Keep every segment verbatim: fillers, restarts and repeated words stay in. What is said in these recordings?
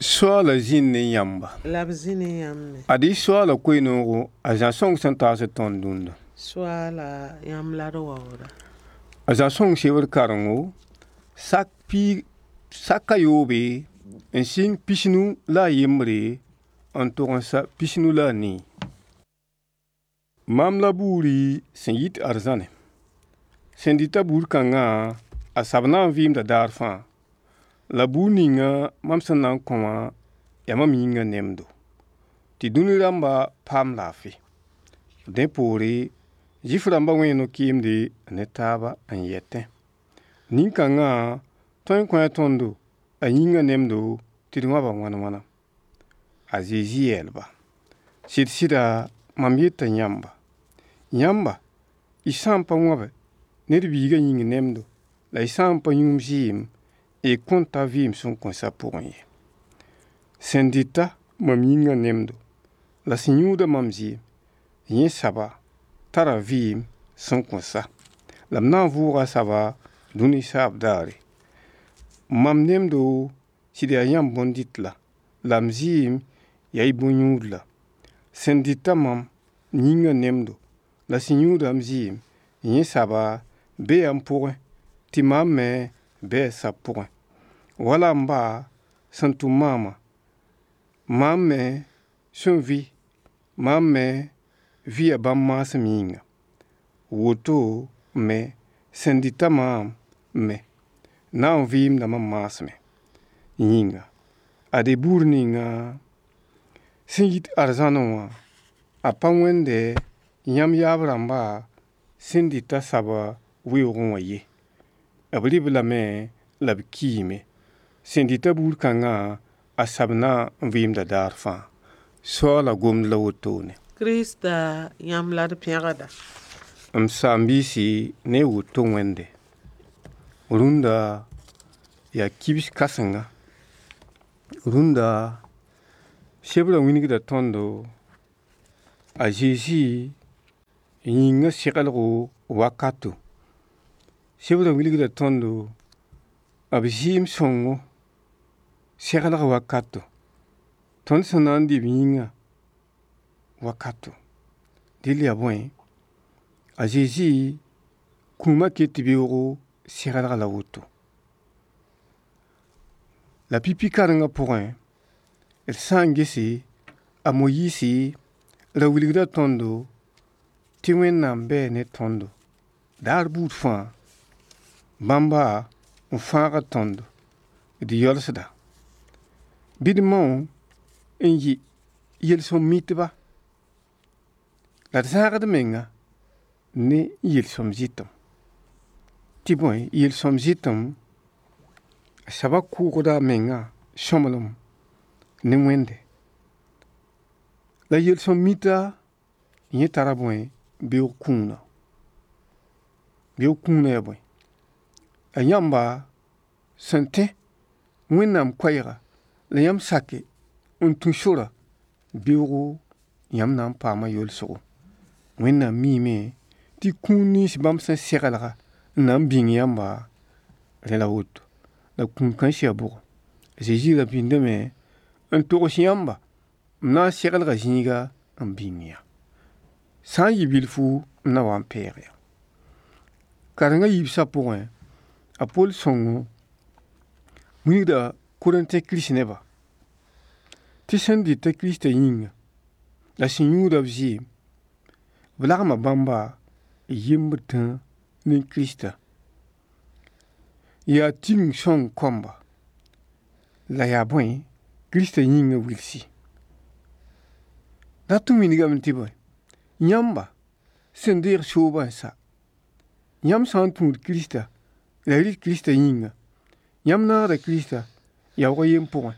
Soaala zĩnd ne yãmba. La b zĩ ne yãmb me. Ad-y soaala koe-noogo a Zã sõng sẽn taas tõnd dũnna. Soaala yãmb la d waooda. A Zã sõng sebr karengo sak piig sak a yoobe n sɩng pisnu la a yembre n tog n sa pisnu la a nii. Mam la buuri sẽn yit arzãne. Sẽn dɩta buur kãngã a sab na n vɩɩmda daar fãa. La buur ninga mam sẽn na n kõ wã yaa mam yĩngã nemdo, tɩ dũni rãmba paam laafɩ. Dẽ poore Zɩɩf rãmbã wẽe no-kɩɩmde ne taaba n yetẽ: nin-kãngã tõe n kõe tõndo a yĩngã nemdo tɩ d wãba wãn wãna. A Zezi yeelba: sɩd-sɩda mam yeta yãmba, yãmba y sã n pa wãbe Ned Biigã yĩng nemdo la y sã n pa yũ m zɩɩm, y kõn ta vɩɩm sẽn kõn sa pʋgẽ ye. Sẽn dɩta mam yĩngã nemdo la sẽn yũuda mam zɩɩm, yẽ saba tara vɩɩm sẽn kõn sa, la m na n vʋʋga a saba dũni saab daare. Mam nemdo sɩd yaa yãmb bõn-dɩtla, la m zɩɩm yaa y bõn-yũudla. Sẽn dɩta mam yĩngã nemdo la sẽn yũuda m zɩɩm, yẽ saba bee m pʋgẽ, tɩ maam me bɩ a sab pʋgẽ. Wala m ba sẽn tʋm maamã, maam me sẽn vɩ, maam me vɩya bãmb maasem yĩnga. Woto me sẽn dɩta maam me na n vɩɩmda mam maasmẽ yĩnga. Ade buur ninga sẽn yit arzãnẽ wã, a pa wẽnde yãmb yaab rãmba sẽn dɩta saba weoogẽ wã ye. B rɩ-b lame la b kiime. Sẽn dɩta buur kãngã a sab na n vɩɩmda daar fãa. Soaala gomd la wotone. Krista yãmb la d pẽgda. M saam-biisi ne woto wẽnde. Rũnda yaa kibs kãsenga. Rũnda sebrã wilgda tõndo a Zezi yĩngã segelgo wakato. Sebrã wilgda tõndo b zɩɩm sõngo seglg wakato. Tõnd sẽn na n dɩ b yĩngã wakato. Dɩl yaa bõe, a Zezi kũumã ket beoogo seglg la woto. La pipi kãrengã pʋgẽ, d sã n gese a Moyiisi ra wilgda tõndo tɩ Wẽnnaam bɛɛ ne tõndo daar buud fãa, bãmba n fãagd tõndo d yalsda. Bɩ d mao n yɩ yel-sõm mitba la d zãagd menga ne yel-sõm zɩtem. Tɩ bõe, yel-sõm zɩtem saba kʋʋgda a menga sõmblem ne Wẽnde. La yel-sõm mita yẽ tara bõe, beoog kũuna. Beoog kũuna yaa bõe, a yãmba sẽn tẽ Wẽnnaam koɛɛga la yãmb sake n tũ sora beoogo yãmb na n paama yolsgo. Wẽnnaam miime tɩ kũun nins bãmb sẽn seglga n na n bĩng yãmba rẽ la woto. La kũun kãens yaa bʋgo. Zezi ra pĩndame n togs yãmba m na n seglga zĩiga n bĩng yã. Sã n yɩ bilfu m na wa n peeg ya. Karengã yiibsã pʋgẽ, a Pol sõngo wilgda Korẽntẽ kirist-nebã tɩ sẽn dɩta Kiristã yĩnga la sẽn yũuda b zɩɩm, b lagma bãmba yembd tã ne Kirista. Yaa tigeng sõng kõmba la yaa bõe, Kirista yĩngã wilsi. Dat n wilgame tɩ bõe, yãmba sẽn deeg soobã n sa, yãmb sã n tũud Kirista la y rɩt Kirista yĩnga, yãmb naagda Kirista yaoog a yen pʋgẽ.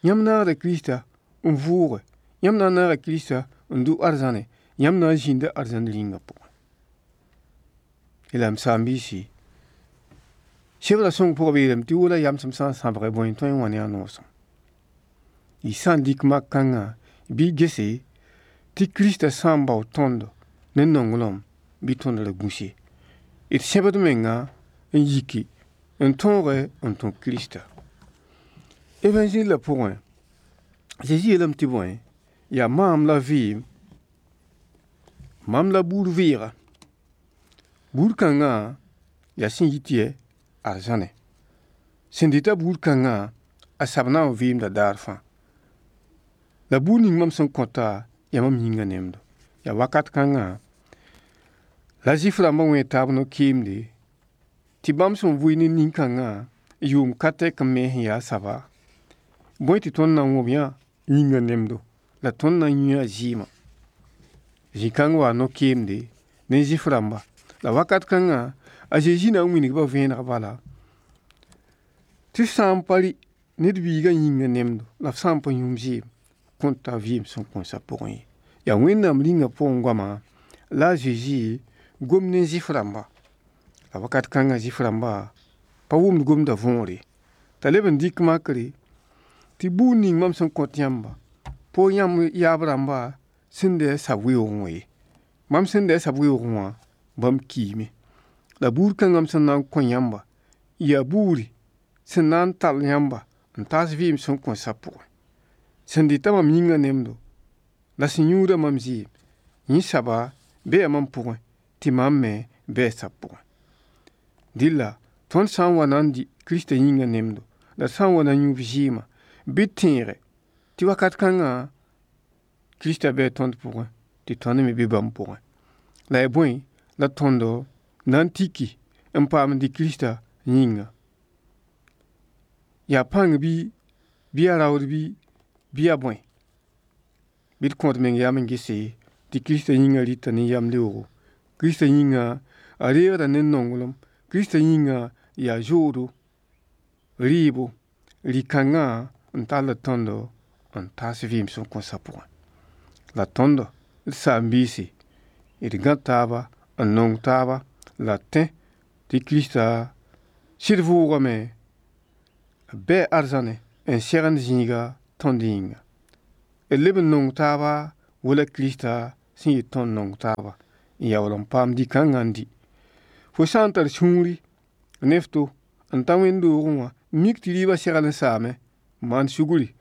Yãmb naagda Kirista n vʋʋge, yãmb na n naaga Kirista n dʋ arzãne, yãmb na n zĩnda arzãn rĩngã pʋgẽ. La m saam-biisi, sebrã sõng pʋgã b yeelame tɩ wola yamsem sã n sãbge bõe n tõe n wã ne a noosem. Y sã n dɩk mak kãngã bɩ y gese tɩ Kirista sã n bao tõndo ne nonglem bɩ tõnd ra gũs ye. D sẽbd menga n yiki n tõoge n tũ Kirista. Évangile la pʋgẽ, Zezi yeelame tɩ bõe, yaa maam la vɩɩm, mam la buud vɩɩga. Buud kãngã yaa sẽn yit yɛ arzãnẽ. Sẽn dɩta buud kãngã, a sab na n vɩɩmda daar fãa. La buud ning mam sẽn kõta, yaa mam yĩngã nemdo. Yaa wakat kãngã la Zɩɩf rãmbã wẽ taab no-kɩɩmde tɩ bãmb sẽn vʋɩ ne nin-kãngã yʋʋm ka tɛk n me sẽn yaa saba, bõe tɩ tõnd na n wõb yã yĩngã nemdo la tõnd na n yũ a zɩɩmã. Zĩ-kãng waa no-kɩɩmde ne Zɩɩf rãmba. La wakat kãngã a Zezi na n wilg-ba vẽeneg bala tɩ f sã n pa rɩ ned biigã yĩngã nemdo la f sã n pa yũ m zɩɩm kõn ta vɩɩm sẽn kõn sa pʋgẽ ye. Yaa Wẽnnaam rĩngã pʋgẽ goama la a Zezi gom ne Zɩɩf rãmba. La wakat kãngã Zɩɩf rãmba pa wʋmd gomdã võore t'a leb n dɩk makre tɩ buud ning mam sẽn kõt yãmba po yãmb yaab rãmba sẽn dɩ a sab weoogẽ wã ye. Mam sẽn dɩ a sab weoogẽ wã bãmb kiime. La buud kãngã m sẽn na n kõ yãmba yaa buuri sẽn na n tall yãmba n taas vɩɩm sẽn kõn sa pʋgẽ. Sẽn dɩta mam yĩngã nemdo la sẽn yũuda mam zɩɩm, yẽ saba bee mam pʋgẽ tɩ mam me bɩ a sab pʋgẽ. Dɩlla tõnd sã n wa na n dɩ Kiristã yĩngã nemdo la d sã n wa na n yũ b zɩɩmã bɩ d tẽege tɩ wakat kãngã Kiristã bɩ tõnd pʋgẽ tɩ tõnd me bɩ bãmb pʋgẽ. La yaa bõe la tõndo na n tiki n paam n dɩ Kiristã yĩnga. Yaa pãng bɩ, bɩ yaa raood bɩ, bɩ yaa bõe. Bɩ d kõ d meng yam n gese tɩ Kiristã yĩngã rɩta ne yam leoogo. Kiristã yĩngã a reegda ne nonglem. Kiristã yĩngã yaa zoodo, rɩɩbo, rɩ-kãngã n tall tõndo n taas vɩɩm sẽn kõn sa pʋgẽ. La tõndo d saam-biisi d gã taaba n nong taaba la d tẽ tɩ Kirista sɩd vʋʋgame b bɩ arzãnẽ n segend zĩiga tõnd yĩnga. D leb n nong taaba wala Kirista sẽn yet tõnd nong taaba n yaool n paam dĩ-kãngã n dɩ. Fo sã n tar sũuri ne f to n ta wẽnd-doogẽ wã mik tɩ rɩɩbã segl n saame n maan sugri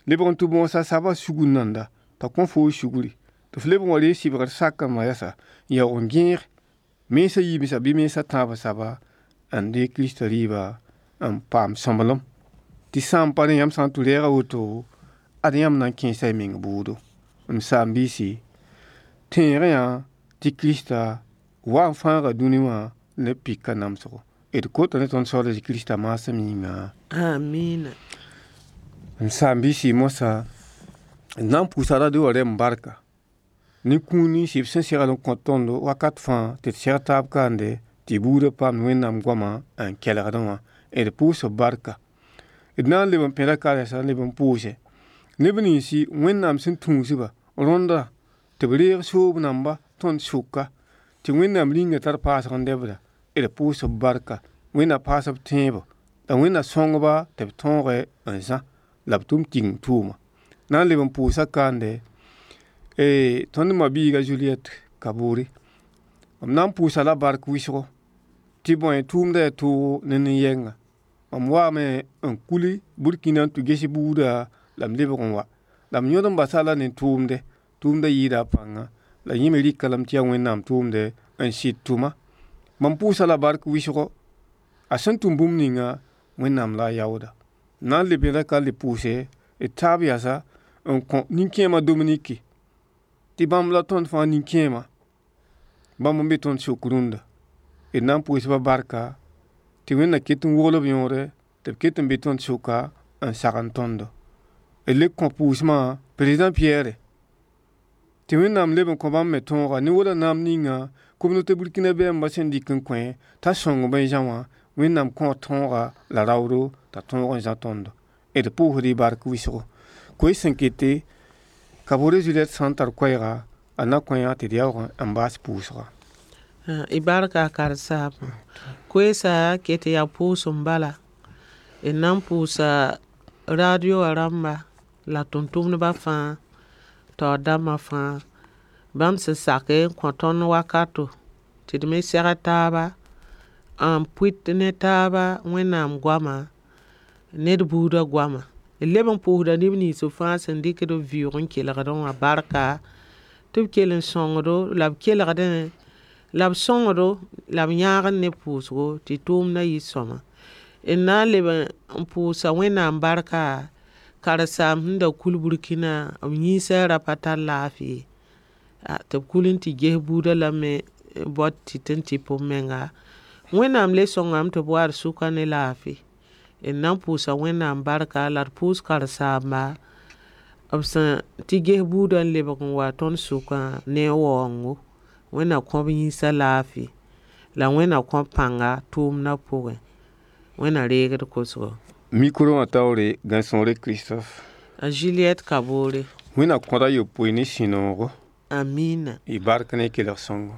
lebg n tɩ bõosa sabã sugur nanda t'a kõ foo sugri tɩ f leb n wa reeg sɩbgr sak n yɛsa n yaoog n gẽeg mensã yiib bɩ mensã tãabã saba n deeg Kirista rɩɩba n paam sõmblem tɩ sã n pa rẽ yãmb sã n tɩ reega woto ad yãmb na n kẽesa y meng bʋʋdo. M saam-biisi tẽegẽ yã tɩ Kirista wa n fãaga dũni wã ne pika namsgo. D kota ne tõnd Soaal a Kirista maasem yĩnga. Amina. M saam-biisi moasã d na n pʋʋsa radio wã rẽmb barka ne kũun nins b sẽn segl n kõ tõndo wakat fãa tɩ d seg taab kaande tɩ buudã paam Wẽnnaam goamã n kelgdẽ wã d pʋʋs b barka. D na n leb n pẽda karẽsa n leb n pʋʋse neb ninsi Wẽnnaam sẽn tũusba rõndã tɩ b reeg soob namba tõnd sʋka tɩ Wẽnnaam rĩngã tar paasg n dɛbda d pʋʋs b barka. Wẽnna paas b tẽebo la Wẽnna sõngba tɩ b tõoge n zã la b tʋm tigim tʋʋma. Na n leb n pʋʋsa kaande tõnd ma-biiga Juliette Kabore m na n pʋʋsa la bark wɩsgo tɩ bõe tʋʋmda yaa toogo ne nin-yɛnga. Mam waame n kuli Burkina n tɩ ges buuda la m lebg n wa la m yõd n basa la ne tʋʋmde tʋʋmda yɩɩda a pãnga la yẽ me rɩka lame tɩ yaa Wẽnnaam tʋʋmde n sɩd tʋma. Mam pʋʋsa la bark wɩsgo a sẽn tʋm bũmb ninga Wẽnnaam la a yaooda. Na n leb yẽda ka le pʋʋse d taab yasa n kõ nin-kẽemã Dominiki tɩ bãmb la tõnd fãa nin-kẽema bãmb n be tõnd sok rũndã. D na n pʋʋsba barka tɩ Wẽnna ket n wogl b yõore tɩ b ket n be tõnd soka n sagn tõndo. D le kõ pʋʋsmã président Pierre tɩ Wẽnnaam leb n kõ bãmb me tõoga ne wala naam ninga communauté burkinabé rãmbã sẽn dɩk n kõ t'a sõng bõe zã wã Wẽnnaam kõ tõoga la raoodo t'a tõog n zã tõndo. D pʋʋsd y bark wɩsgo. Koe sẽn kete Kabore Juliette sã n tar koɛɛga a na kõ yã tɩ d yaoog n baas pʋʋsga. Y barka karen-saambã. Koeesa ket yaa pʋʋsem bala. D na n pʋʋsa radio wã rãmba la tʋm-tʋmdbã fãa taoor dãmbã fãa bãmb sẽn sak n kõ tõnd wakato tɩ d me seg taaba n pʋɩt ne taaba Wẽnnaam goama ned buudã goama. D D leb n pʋʋsda neb nins fãa sẽn dɩkd b vɩʋʋg n kelgdẽ wã barka tɩ b kell n sõngdo la b kelgdẽ la b sõngdo la b yãagd ne pʋʋsgo tɩ tʋʋmdã yɩ sõama d na n leb n pʋʋsa wẽnnaam barka karen-saamb sẽn da kul burkina b yĩnsã ra pa tar laafɩ tɩ b kul n tɩ ges buudã lame bao tɩ tɩ n tɩp b menga wẽnnaam le sõngame tɩ b wa d sʋka ne laafɩ d na n pʋʋsa wẽnnaam barka la d pʋʋs karen-saamba b sẽn tɩ ges buudã n lebg n wa tõnd sʋkã ne a waoongo wẽnna kõ b yĩnsã laafɩ la wẽnna kõ pãnga tʋʋmdã pʋgẽ wẽnna reegd kosgo Micro wã taoore Gãe-sõore Christophe a Juliette Kaboore wẽnna kõda yopoe ne sũ-noogo amina y bark ne kelg sõngo.